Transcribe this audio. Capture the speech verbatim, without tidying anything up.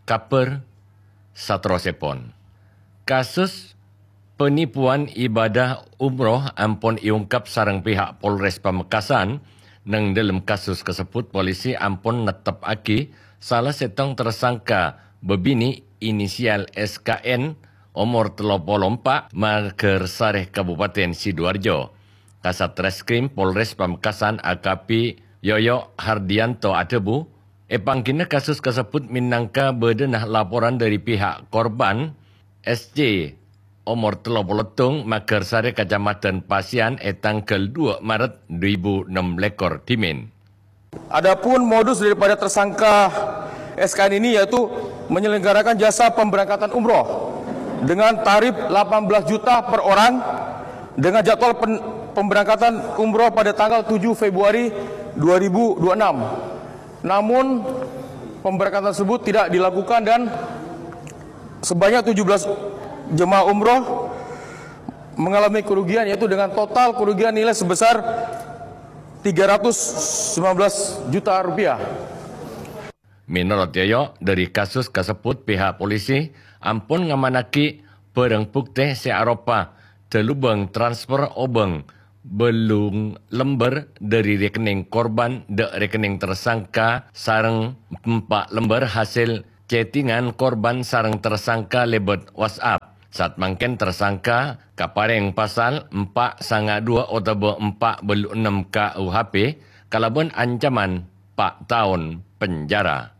Kabhâr saterrossèpon. Kasus penipuan ibadah umroh ampon èongkap sareng pihak Polres Pamekasan. Neng dâlem kasus kasebbhut, polisi ampon nettepaghi sala sèttong tersangka bâbinè' inisial S K N, omor tello polo empa', Magersari, Kabupaten Sidoarjo. Kasat Reskrim Polres Pamekasan, A K P Yoyo Hardianto adhâbu, èpangghina kasus kasebbhut mènangka bâdâna laporan dâri pihak korban, S C, omor tello polo tong, Magersari, Kacamadhân Pasian, è tangghâl dua Maret dua èbu ennem lèkor dhimèn. Adapun modus daripada tersangka S K N ini yaitu menyelenggarakan jasa pemberangkatan umroh dengan tarif delapan belas juta per orang dengan jadwal pen- pemberangkatan umroh pada tanggal tujuh Februari dua ribu dua puluh enam. Namun, pemberangkatan tersebut tidak dilakukan dan sebanyak tujuh belas jemaah umroh mengalami kerugian, yaitu dengan total kerugian nilai sebesar tiga ratus sembilan belas juta rupiah. Mènorot Yoyo, dâri kasus kasebbhut pihak polisi ampon ngamanaghi bhârâng buktè sè aropa dâlubâng transfer obâng bâllung lembâr dâri rekening korban dâ' rekening tersangka sareng empa' lembâr hasèl chattingan korban sareng tersangka lèbât WhatsApp. Saat mangkèn tersangka kaparèng pasal empa' sanga dua otabâ empa' bâllu ennem K U H P kalabân ancaman pa' taon penjara.